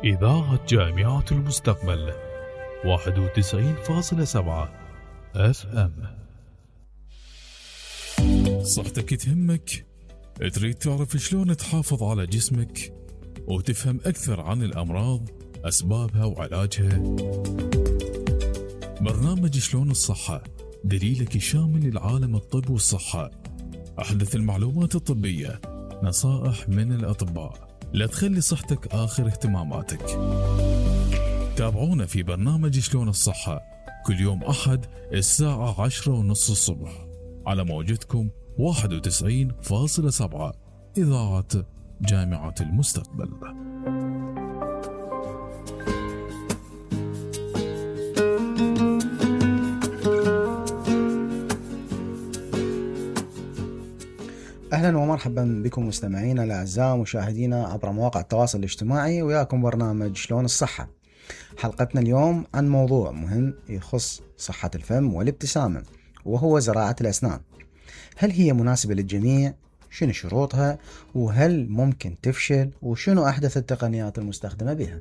إذاعة جامعة المستقبل 91.7 FM. صحتك تهمك؟ تريد تعرف شلون تحافظ على جسمك وتفهم أكثر عن الأمراض، أسبابها وعلاجها؟ برنامج شلون الصحة دليلك الشامل لعالم الطب والصحة، أحدث المعلومات الطبية، نصائح من الأطباء، لا تخلي صحتك آخر اهتماماتك. تابعونا في برنامج شلون الصحة كل يوم أحد الساعة 10:30 الصبح على موجتكم 91.7 إذاعة جامعة المستقبل. أهلا ومرحبا بكم مستمعينا الأعزاء مشاهدينا عبر مواقع التواصل الاجتماعي، وياكم برنامج شلون الصحة. حلقتنا اليوم عن موضوع مهم يخص صحة الفم والابتسامة، وهو زراعة الأسنان. هل هي مناسبة للجميع؟ شنو شروطها؟ وهل ممكن تفشل؟ وشنو أحدث التقنيات المستخدمة بها؟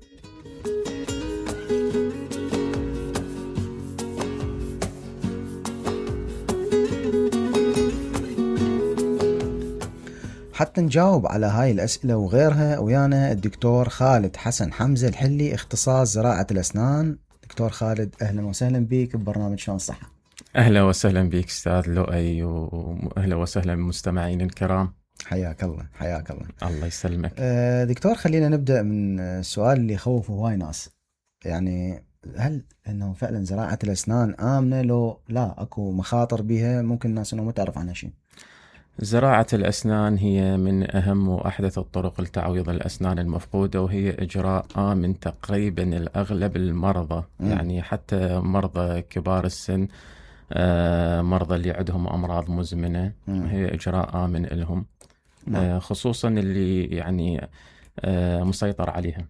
حتى نجاوب على هاي الأسئلة وغيرها ويانا الدكتور خالد حسن حمزة الحلي، اختصاص زراعة الأسنان. دكتور خالد، أهلا وسهلا بك ببرنامج شلون الصحة. أهلا وسهلا بك أستاذ لؤي، وأهلا وسهلا بالمستمعين الكرام. حياك الله حياك الله. الله يسلمك. دكتور، خلينا نبدأ من السؤال اللي يخوفه هواي ناس، يعني هل انه فعلا زراعة الأسنان آمنة لو لا اكو مخاطر بها ممكن الناس انه ما تعرف عنها شيء؟ زراعة الأسنان هي من أهم وأحدث الطرق لتعويض الأسنان المفقودة، وهي إجراء آمن تقريبا الأغلب المرضى. يعني حتى مرضى كبار السن، مرضى اللي عندهم أمراض مزمنة، هي إجراء آمن لهم، خصوصا اللي يعني مسيطر عليها.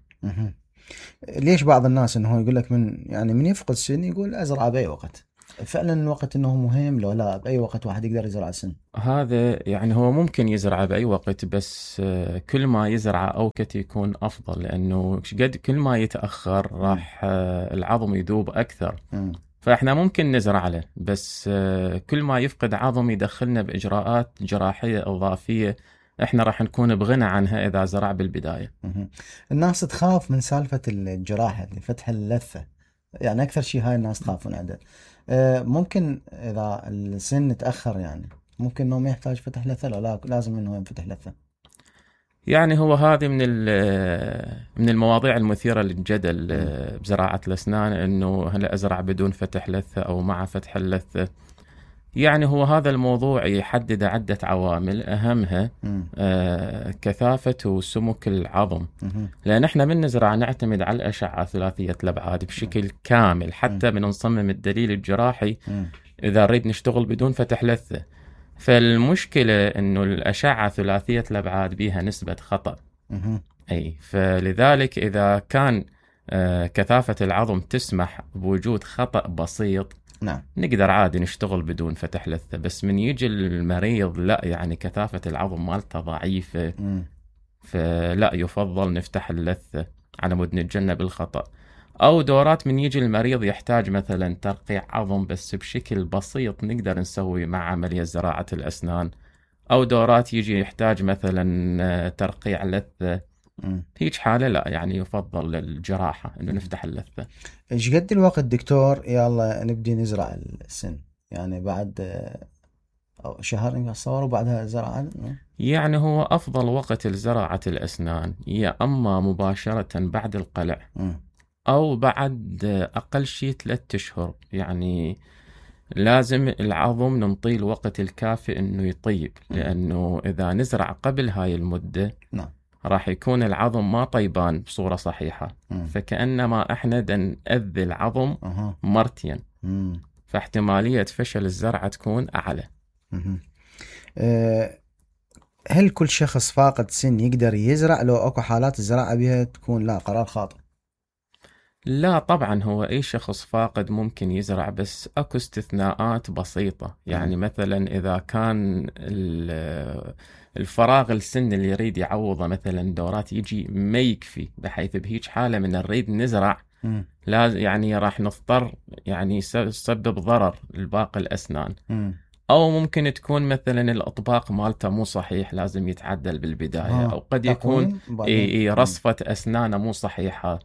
ليش بعض الناس انه يقول لك من يفقد سن يقول أزرع بأي وقت؟ فعلا الوقت انه مهم لو لا بأي وقت واحد يقدر يزرع السن؟ هذا يعني هو ممكن يزرع بأي وقت، بس كل ما يزرع أوقت يكون أفضل، لأنه قد كل ما يتأخر راح العظم يذوب أكثر. فإحنا ممكن نزرع له، بس كل ما يفقد عظم يدخلنا بإجراءات جراحية إضافية إحنا راح نكون بغنى عنها إذا زرع بالبداية. الناس تخاف من سالفة الجراحة لفتح اللثة، يعني أكثر شيء هاي الناس تخافون عنده. ممكن إذا السن تأخر يعني ممكن إنه ما يحتاج فتح لثة، لا لازم إنه ينفتح لثة؟ يعني هو هذه من المواضيع المثيرة للجدل بزراعة الأسنان، إنه هل أزرع بدون فتح لثة أو مع فتح اللثة. يعني هو هذا الموضوع يحدد عدة عوامل، أهمها كثافة وسمك العظم، لأن احنا من نزرع نعتمد على الأشعة ثلاثية الأبعاد بشكل كامل، حتى من نصمم الدليل الجراحي إذا نريد نشتغل بدون فتح لثة. فالمشكلة إنه الأشعة ثلاثية الأبعاد بها نسبة خطأ، فلذلك إذا كان كثافة العظم تسمح بوجود خطأ بسيط، نعم، نقدر عادي نشتغل بدون فتح لثة. بس من يجي المريض لا يعني كثافة العظم مالته ضعيفة، فلا يفضل نفتح اللثة على مود نتجنب الخطأ. أو دورات من يجي المريض يحتاج مثلا ترقيع عظم بس بشكل بسيط، نقدر نسوي مع عملية زراعة الأسنان. أو دورات يجي يحتاج مثلا ترقيع لثة، هيج حالة لا يعني يفضل الجراحة إنه نفتح اللثة. إيش قد الوقت دكتور يلا نبدي نزرع السن؟ يعني بعد شهر نصور وبعدها زراعة؟ يعني هو أفضل وقت لزراعة الأسنان يا أما مباشرة بعد القلع أو بعد أقل شيء 3 أشهر. يعني لازم العظم ننطيه الوقت الكافي إنه يطيب، لأنه إذا نزرع قبل هاي المدة راح يكون العظم ما طيبان بصورة صحيحة، فكأنما إحنا نأذي العظم مرتين، فاحتمالية فشل الزرعة تكون أعلى. هل كل شخص فاقد سن يقدر يزرع لو أكو حالات الزراعة بها تكون لا قرار خاطئ؟ لا طبعا، هو أي شخص فاقد ممكن يزرع، بس أكو استثناءات بسيطة. يعني مثلا إذا كان الفراغ السن اللي يريد يعوضه مثلا دورات يجي ما يكفي، بحيث بهيج حالة من نريد نزرع لازم يعني راح نضطر يعني يسبب ضرر لباقي الأسنان. أو ممكن تكون مثلا الأطباق مالته مو صحيح، لازم يتعدل بالبداية. أو قد يكون رصفة أسنانه مو صحيحة.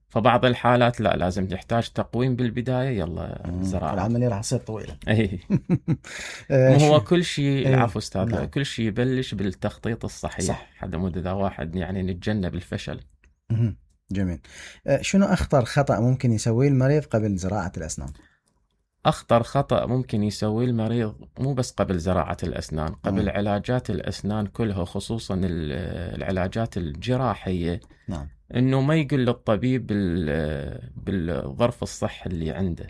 فبعض الحالات لا، لازم تحتاج تقويم بالبداية، يلا زراعة. العملية راح تصير طويلة. هو كل شيء العفو أستاذ، نعم. كل شيء يبلش بالتخطيط الصحيح، صح. حتى مود إذا واحد يعني نتجنب الفشل. جميل. شنو أخطر خطأ ممكن يسويه المريض قبل زراعة الأسنان؟ أخطر خطأ ممكن يسويه المريض مو بس قبل زراعة الأسنان، قبل علاجات الأسنان كلها، خصوصا العلاجات الجراحية. نعم. إنه ما يقول للطبيب بالظرف الصحي اللي عنده.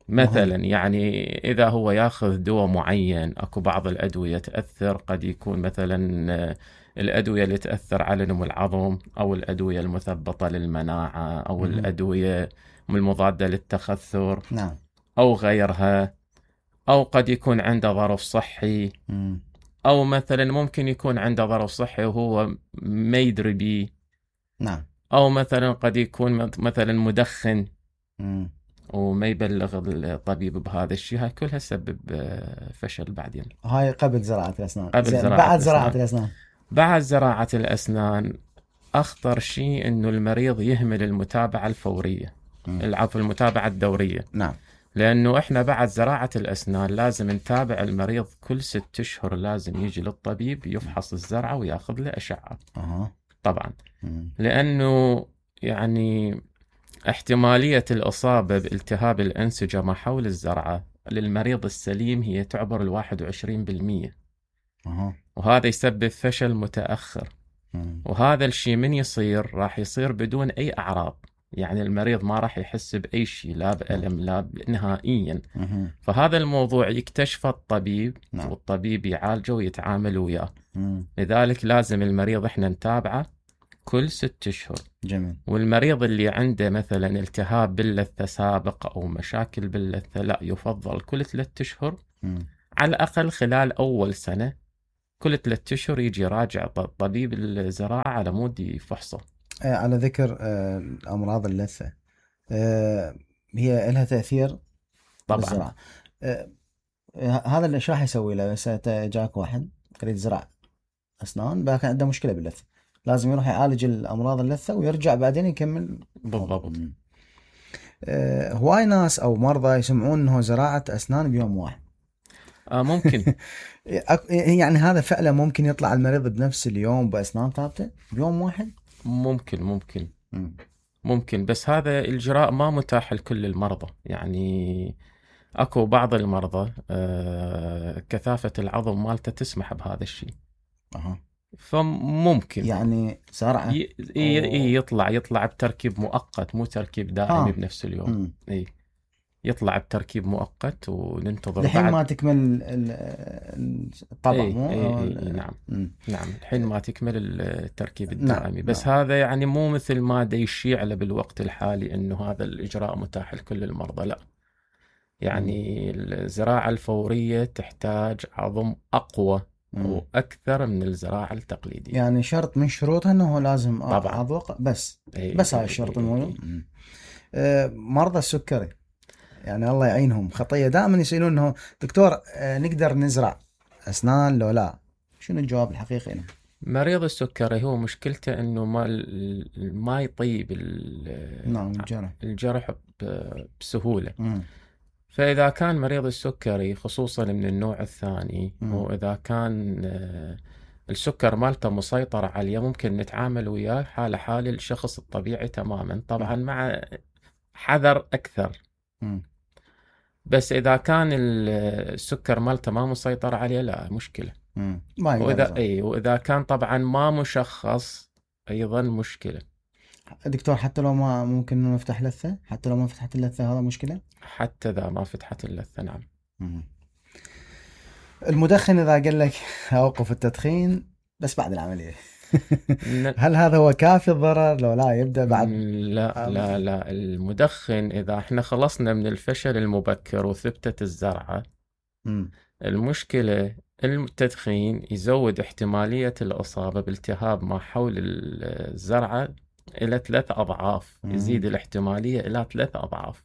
مثلا يعني إذا هو ياخذ دواء معين، أكو بعض الأدوية تأثر، قد يكون مثلا الأدوية اللي تأثر على نمو العظم، أو الأدوية المثبطة للمناعة، أو الأدوية المضادة للتخثر، نعم. أو غيرها. أو قد يكون عنده ظرف صحي، أو مثلا ممكن يكون عنده ظرف صحي وهو ما يدري بيه. نعم. أو مثلا قد يكون مثلا مدخن وما يبلغ الطبيب بهذا الشيء. هاي كلها تسبب فشل بعدين. هاي قبل زراعة الأسنان. بعد زراعة الأسنان. بعد زراعة الأسنان أخطر شيء إنه المريض يهمل المتابعة الفورية، المتابعة الدورية. نعم. لأنه إحنا بعد زراعة الأسنان لازم نتابع المريض كل 6 أشهر، لازم يجي للطبيب يفحص الزرعة وياخذ له أشعة. طبعا. لأنه يعني احتمالية الإصابة بالتهاب الأنسجة ما حول الزرعة للمريض السليم هي تعبر 21%. وهذا يسبب فشل متأخر. وهذا الشيء من يصير راح يصير بدون أي أعراض، يعني المريض ما راح يحس بأي شيء، لا بألم لا نهائيا. فهذا الموضوع يكتشفه الطبيب، والطبيب يعالجه ويتعامل وياه. لذلك لازم المريض احنا نتابعه كل 6 أشهر. جميل. والمريض اللي عنده مثلا التهاب باللثة سابق أو مشاكل باللثة، لا، يفضل كل 3 أشهر على الأقل خلال أول سنة، كل 3 أشهر يجي يراجع طبيب الزراعة على مود يفحصه. على ذكر أمراض اللثة، هي لها تأثير طبعا بالزراعة. هذا اللي راح يسوي له؟ بس جاك واحد يريد زراعة أسنان، كان عنده مشكلة باللثة، لازم يروح يعالج الأمراض اللثة ويرجع بعدين يكمل. بالضبط. هواي ناس أو مرضى يسمعون أنه زراعة أسنان بيوم واحد. ممكن. يعني هذا فعلا ممكن يطلع المريض بنفس اليوم بأسنان ثابتة بيوم واحد؟ ممكن، بس هذا الإجراء ما متاح لكل المرضى. يعني أكو بعض المرضى كثافة العظم مالته تسمح بهذا الشيء. فممكن يعني زرعة يطلع بتركيب مؤقت، مو تركيب دائمي بنفس اليوم. يطلع بتركيب مؤقت وننتظر لحين ما تكمل الطبع. نعم الحين ما تكمل التركيب الدائمي. بس هذا يعني مو مثل ما يشيع له بالوقت الحالي انه هذا الاجراء متاح لكل المرضى، لا. يعني الزراعة الفورية تحتاج عظم اقوى واكثر من الزراعة التقليدية. يعني شرط من شروطها انه لازم عضو بس هاي الشرط المهم. مرضى السكري يعني الله يعينهم، خطية دائما يسألون انه دكتور نقدر نزرع اسنان لو لا؟ شنو الجواب الحقيقي له؟ مريض السكري هو مشكلته انه ما يطيب الجرح بسهولة. فإذا كان مريض السكري خصوصا من النوع الثاني، وإذا كان السكر مالته مسيطر عليه، ممكن نتعامل وياه حال الشخص الطبيعي تماما، طبعا مع حذر أكثر. بس إذا كان السكر مالته ما مسيطر عليه، لا مشكلة. وإذا كان طبعا ما مشخص أيضا مشكلة. دكتور حتى لو ما ممكن نفتح لثة، حتى لو ما فتحت اللثة هذا مشكلة؟ حتى إذا ما فتحت اللثة، نعم. المدخن إذا قال لك أوقف التدخين بس بعد العملية، هل هذا هو كافي الضرر لو لا يبدأ بعد؟ لا المدخن إذا احنا خلصنا من الفشل المبكر وثبتت الزرعة، المشكلة التدخين يزود احتمالية الإصابة بالتهاب ما حول الزرعة إلى 3 أضعاف. يزيد الاحتمالية إلى 3 أضعاف.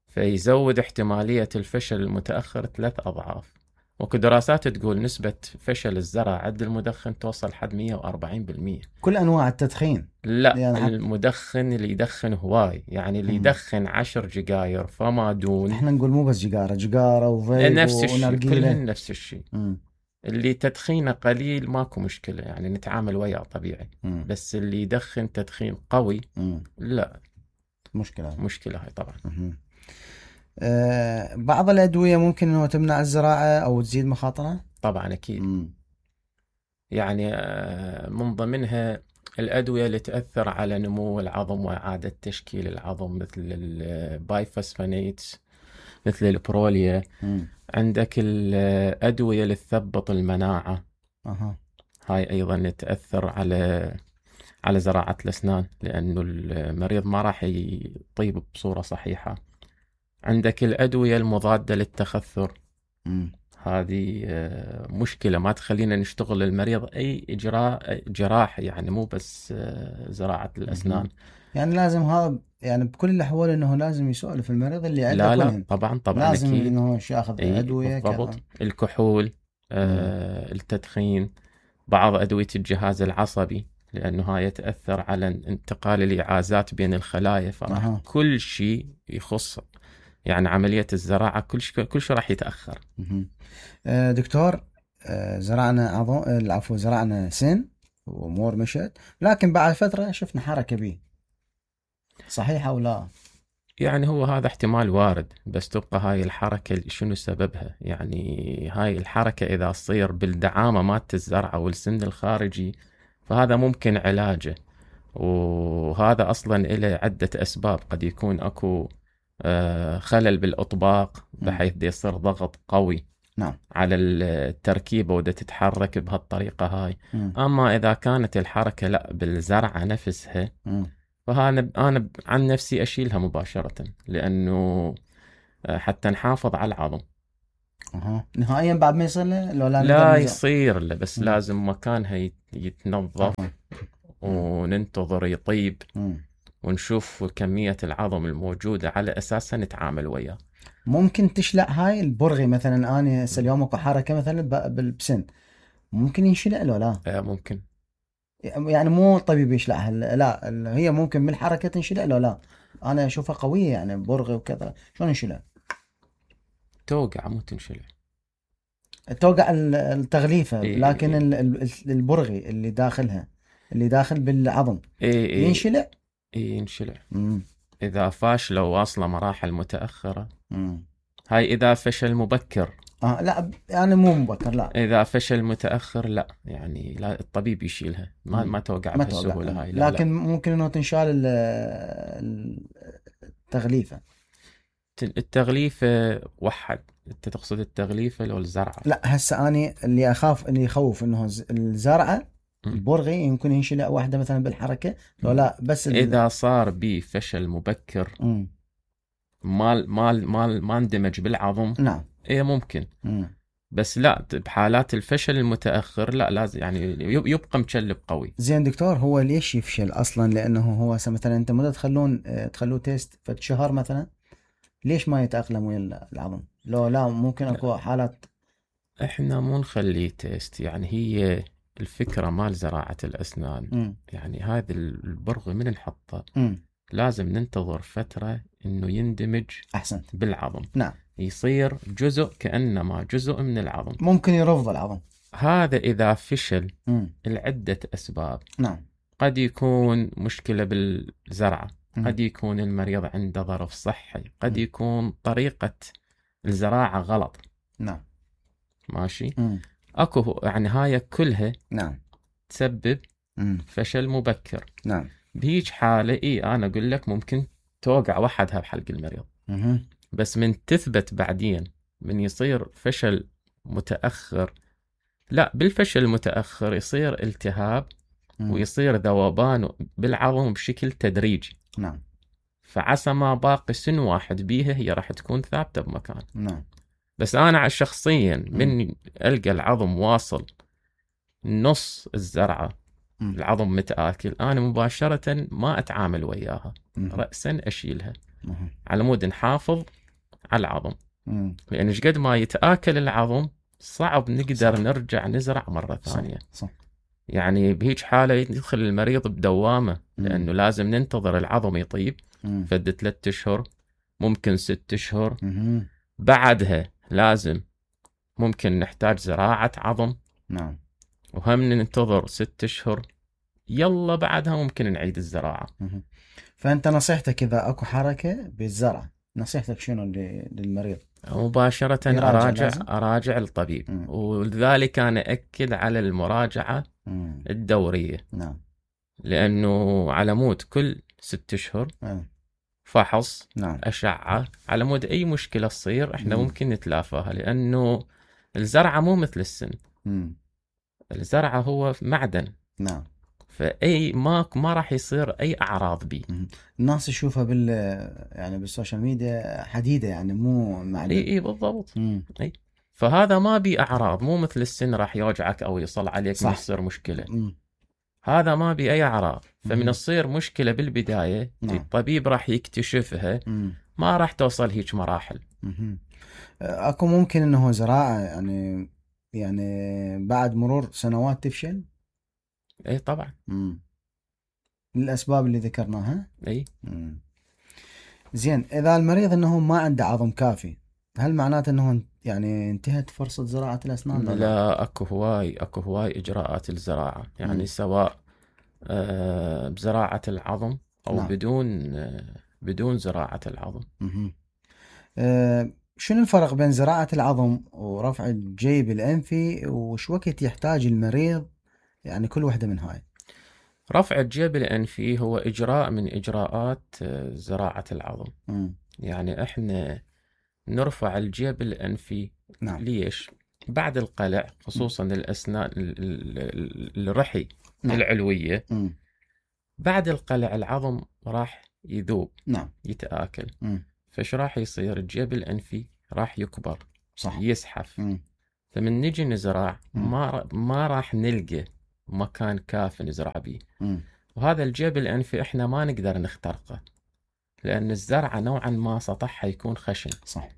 فيزود احتمالية الفشل المتأخر 3 أضعاف. وكدراسات تقول نسبة فشل الزرع عند المدخن توصل حد 140%. كل أنواع التدخين؟ لا يعني المدخن اللي يدخن هواي، يعني اللي يدخن 10 جيجاير فما دون. احنا نقول مو بس جيجارة وفيب نفس الشيء، كلهن نفس الشيء. اللي تدخينه قليل ماكو مشكلة، يعني نتعامل وياه طبيعي. بس اللي يدخن تدخين قوي لا، مشكلة هاي طبعا. بعض الأدوية ممكن أنه تمنع الزراعة أو تزيد مخاطرها؟ طبعا أكيد. يعني من ضمنها الأدوية اللي تأثر على نمو العظم وإعادة تشكيل العظم، مثل البايفوسفونيتس، مثل البروليا. عندك الأدوية اللي تثبط المناعة. هاي أيضا تأثر على زراعة الأسنان، لأنه المريض ما راح يطيب بصورة صحيحة. عندك الأدوية المضادة للتخثر. هذه مشكلة ما تخلينا نشتغل المريض أي إجراء جراحي، يعني مو بس زراعة الأسنان. يعني لازم هذا، يعني بكل الأحوال إنه لازم يسولف المريض اللي عنده. لا طبعا لازم أكيد. إنه ياخذ أدوية بالضبط. الكحول، التدخين، بعض أدوية الجهاز العصبي، لأنه هاي تأثر على انتقال الإعازات بين الخلايا. فراح كل شيء يخص يعني عملية الزراعة كل شيء راح يتأخر. دكتور، زرعنا سن وأمور مشت، لكن بعد فترة شفنا حركة بيه، صحيح أو لا؟ يعني هو هذا احتمال وارد، بس تبقى هاي الحركة شنو سببها؟ يعني هاي الحركة إذا تصير بالدعامة مالت الزرعة والسن الخارجي فهذا ممكن علاجه، وهذا أصلا إله عدة أسباب. قد يكون أكو خلل بالأطباق بحيث دي يصير ضغط قوي على التركيبة وده تتحرك بهالطريقة هاي. أما إذا كانت الحركة لا بالزرعة نفسها، فأنا عن نفسي أشيلها مباشرة، لأنه حتى نحافظ على العظم. نهائيا بعد ما يصير له لا يصير له، بس لازم مكانها يتنظف وننتظر يطيب ونشوف كمية العظم الموجودة على أساسها نتعامل وياه. ممكن تشلع هاي البرغي مثلا، أنا اليوم اكو حركة مثلا بالبسن، ممكن ينشلع له لا؟ ممكن، يعني مو الطبيب يشلعها، لا هي ممكن من الحركة تنشلع له لا؟ أنا أشوفها قوية يعني برغي وكذا، شلون ينشلع؟ توقع مو تنشلع، توقع التغليفة. لكن البرغي اللي داخلها، اللي داخل بالعظم ينشلع؟ ينشلع. إذا فاشلة وواصلة مراحل متأخرة. هاي إذا فشل مبكر. لا يعني مو مبكر، لا. إذا فشل متأخر لا، يعني لا الطبيب يشيلها، ما توقع بهالسهولة هاي. لكن ممكن إنه تنشال التغليفة. التغليفة وحد، أنت تقصد التغليفة لو الزرعة؟ لا هسه أنا اللي يخوف إنه الزرعة البرغي يمكن ينشلع واحدة مثلا بالحركة لو لا، بس إذا صار بي فشل مبكر ما اندمج بالعظم. نعم. إيه ممكن. بس لا بحالات الفشل المتأخر لا، لازم يعني يبقى مشلب قوي. زين دكتور، هو ليش يفشل أصلا؟ لأنه هو مثلا أنت مدة تخلوه تيست شهر مثلا، ليش ما يتأقلم ويا العظم؟ لو لا ممكن أكو حالات. إحنا مو نخليه تيست، يعني هي الفكرة مال زراعة الأسنان. يعني هذا البرغي من نحطه لازم ننتظر فترة إنه يندمج أحسنت بالعظم. نعم. يصير جزء كأنما جزء من العظم. ممكن يرفض العظم هذا إذا فشل لعدة أسباب. نعم. قد يكون مشكلة بالزرعة، قد يكون المريض عنده ظرف صحي، قد يكون طريقة الزراعة غلط. نعم. ماشي. أكو يعني هاي كلها نعم تسبب فشل مبكر. نعم. بهيج حالة أنا أقول لك ممكن توقع وحدها بحلق المريض. بس من تثبت بعدين، من يصير فشل متأخر لا، بالفشل المتأخر يصير التهاب ويصير ذوبان بالعظم بشكل تدريجي. نعم. فعسى ما باقي سن واحد بيها هي راح تكون ثابتة بمكان. نعم. بس أنا شخصيا من ألقى العظم واصل نص الزرعة، العظم متآكل، أنا مباشرة ما أتعامل وياها، رأسا أشيلها على مود نحافظ على العظم. لأن قد ما يتآكل العظم صعب نقدر نرجع نزرع مرة ثانية. صح. يعني بهيج حالة يدخل المريض بدوامة، لأنه لازم ننتظر العظم يطيب فد 3 أشهر، ممكن 6 أشهر. بعدها لازم ممكن نحتاج زراعة عظم. نعم. وهم ننتظر 6 أشهر، يلا بعدها ممكن نعيد الزراعة. فأنت نصيحتك إذا أكو حركة بالزرع، نصيحتك شنو للمريض؟ مباشرة أراجع الطبيب. ولذلك أنا أكد على المراجعة الدورية. نعم. لأنه على مود كل 6 أشهر فحص. نعم. أشعة، على مود أي مشكلة تصير إحنا ممكن نتلافاها، لأنه الزرعة مو مثل السن. الزرعة هو معدن. نعم. فأي ما راح يصير أي أعراض بيه. الناس تشوفها يعني بالسوشيال ميديا حديدة، يعني مو معدن. إيه بالضبط. أي. فهذا ما بي أعراض، مو مثل السن راح يوجعك أو يصل عليك ما يصير مشكلة. هذا ما بي أي أعراض. فمن تصير مشكلة بالبداية الطبيب راح يكتشفها، ما راح توصل هيك مراحل. أكو ممكن إنه زراعة يعني بعد مرور سنوات تفشل؟ اي طبعا. للأسباب اللي ذكرناها. اي. زين، إذا المريض إنه ما عنده عظم كافي، هل معناته إنه يعني انتهت فرصة زراعة الأسنان؟ لا، أكو هواي إجراءات الزراعة، يعني سواء بزراعة العظم أو نعم. بدون زراعة العظم. شنو الفرق بين زراعة العظم ورفع الجيب الأنفي، وش وقت يحتاج المريض يعني كل واحدة من هاي؟ رفع الجيب الأنفي هو إجراء من إجراءات زراعة العظم. يعني إحنا نرفع الجيب الأنفي. نعم. ليش؟ بعد القلع، خصوصا الأسنان الرحي العلوية، بعد القلع العظم راح يذوب. نعم. يتآكل. فش راح يصير؟ الجيب الأنفي راح يكبر. صح. يزحف. فمن نجي نزرع ما راح نلقى مكان كافي نزرع بيه. وهذا الجيب الأنفي إحنا ما نقدر نخترقه، لأن الزرعة نوعا ما سطحها يكون خشن. صح.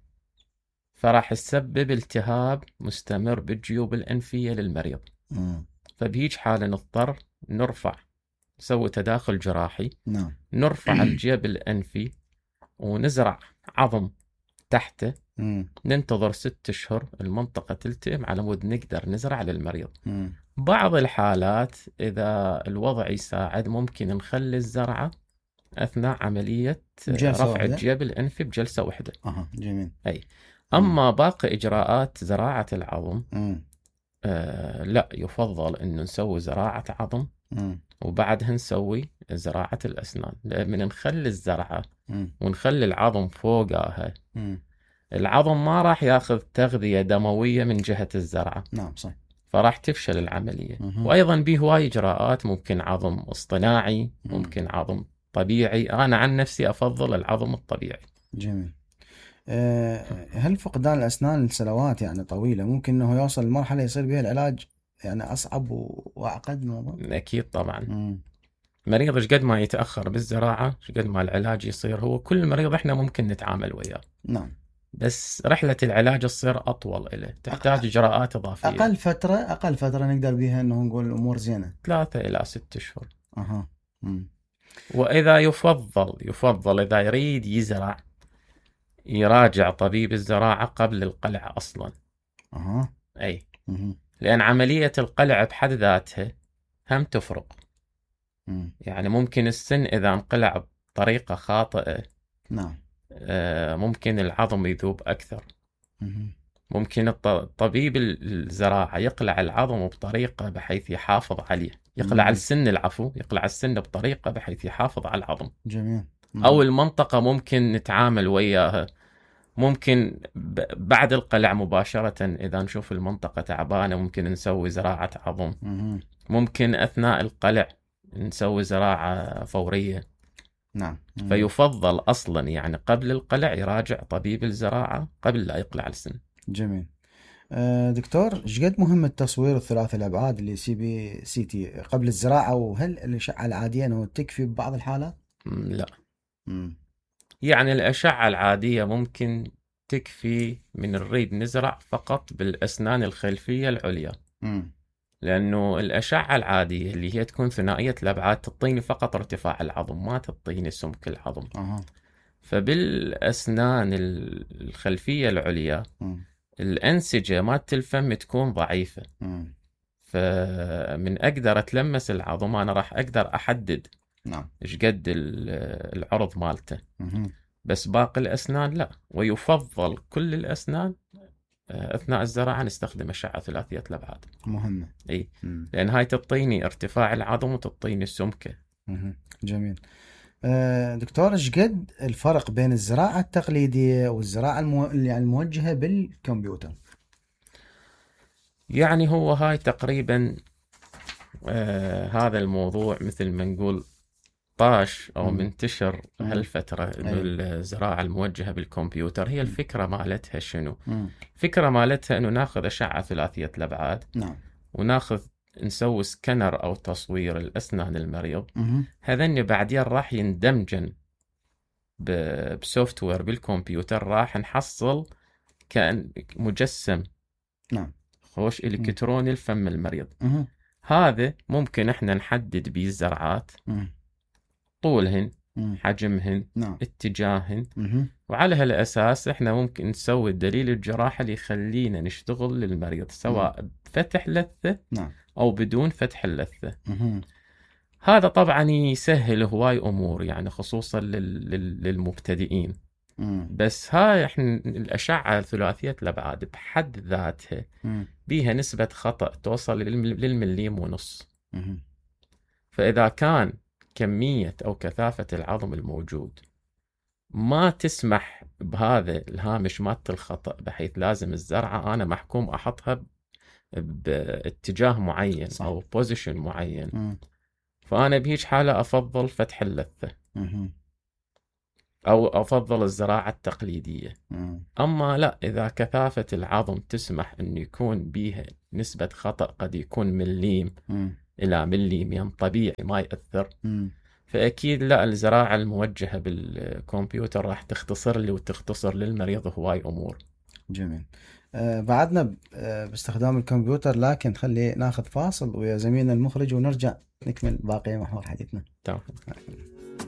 فراح يسبب التهاب مستمر بالجيوب الأنفية للمريض. فبهيج حالة نضطر نسوي تداخل جراحي. نعم. نرفع الجيب الأنفي ونزرع عظم تحته. ننتظر 6 أشهر المنطقة تلتئم على مود نقدر نزرع للمريض. بعض الحالات إذا الوضع يساعد ممكن نخلي الزرعة أثناء عملية رفع الجيب الأنفي بجلسة واحدة. جميل. أي. أما باقي إجراءات زراعة العظم لا، يفضل إنه نسوي زراعة عظم وبعدها نسوي زراعة الأسنان. من نخلي الزرعة ونخلي العظم فوقها، العظم ما راح ياخذ تغذية دموية من جهة الزرعة. نعم صح. فراح تفشل العملية. وأيضا به هواي إجراءات، ممكن عظم اصطناعي، ممكن عظم طبيعي. أنا عن نفسي أفضل العظم الطبيعي. جميل. هل فقدان الأسنان لسنوات يعني طويلة ممكن أنه يوصل لمرحلة يصير بها العلاج يعني أصعب وأعقد من الموضوع؟ أكيد طبعا. مريض قد ما يتأخر بالزراعة قد ما العلاج يصير. هو كل مريض إحنا ممكن نتعامل وياه. نعم. بس رحلة العلاج تصير أطول إله، تحتاج إجراءات إضافية. أقل فترة نقدر بها إنه نقول الأمور زينة 3 إلى 6 أشهر. وإذا يفضل إذا يريد يزرع يراجع طبيب الزراعة قبل القلع أصلا. أي. لأن عملية القلع بحد ذاتها هم تفرق. يعني ممكن السن إذا انقلع بطريقة خاطئة، نعم، ممكن العظم يذوب أكثر. ممكن طبيب الزراعة يقلع العظم بطريقة بحيث يحافظ عليه، يقلع السن بطريقة بحيث يحافظ على العظم. جميل. أو المنطقة ممكن نتعامل وياها، ممكن بعد القلع مباشرة إذا نشوف المنطقة تعبانة ممكن نسوي زراعة عظم. ممكن أثناء القلع نسوي زراعة فورية. نعم. فيفضل أصلا يعني قبل القلع يراجع طبيب الزراعة قبل لا يقلع السن. جميل. دكتور، ايش قد مهم التصوير الثلاثي الأبعاد اللي CBCT قبل الزراعة، وهل الأشعة العادية أنه تكفي ببعض الحالات؟ لا. يعني الأشعة العادية ممكن تكفي من نريد نزرع فقط بالأسنان الخلفية العليا. لأنه الأشعة العادية اللي هي تكون ثنائية الأبعاد تعطيني فقط ارتفاع العظم، ما تعطيني سمك العظم. فبالأسنان الخلفية العليا الأنسجة مالت الفم تكون ضعيفة. فمن أقدر أتلمس العظم أنا راح أقدر أحدد إيش قد العرض مالته. بس باقي الأسنان لا. ويفضل كل الأسنان أثناء الزراعة نستخدم أشعة ثلاثية الأبعاد. مهمة. إيه. لأن هاي تعطيني ارتفاع العظم وتعطيني السمكة. جميل. دكتور، ايش قد الفرق بين الزراعة التقليدية والزراعة الموجهة بالكمبيوتر؟ يعني هو هاي تقريبا هذا الموضوع مثل ما نقول طاش أو منتشر هالفترة إنه الزراعة الموجهة بالكمبيوتر. هي الفكرة مالتها شنو؟ الفكرة مالتها إنه ناخذ أشعة ثلاثية الأبعاد. وناخذ نسوي سكانر أو تصوير الأسنان المريض. هذن بعدين راح يندمجن بسوفت وير بالكمبيوتر، راح نحصل كأن مجسم خوش إلكتروني الفم المريض. هذا ممكن احنا نحدد بيه الزرعات، طولهن، حجمهن، اتجاههن، وعلى هالأساس احنا ممكن نسوي الدليل الجراحي اللي يخلينا نشتغل للمريض سواء بفتح لثة أو بدون فتح اللثة. هذا طبعا يسهل هواي أمور يعني خصوصا للمبتدئين. بس هاي احنا الأشعة ثلاثية الأبعاد بحد ذاتها بيها نسبة خطأ توصل للمليم ونص. فإذا كان كمية أو كثافة العظم الموجود ما تسمح بهذا الهامش مالت الخطأ بحيث لازم الزرعة أنا محكوم أحطها باتجاه معين أو بوزيشن معين، فأنا بهيج حالة أفضل فتح اللثة أو أفضل الزراعة التقليدية. أما لا، إذا كثافة العظم تسمح أن يكون بيها نسبة خطأ قد يكون مليم إلى مليمين طبيعي ما يأثر، فأكيد لا، الزراعة الموجهة بالكمبيوتر راح تختصر لي وتختصر للمريض هواي أمور. جميل. بعدنا باستخدام الكمبيوتر، لكن خلي ناخذ فاصل ويا زميلنا المخرج ونرجع نكمل باقي محور حديثنا. تمام.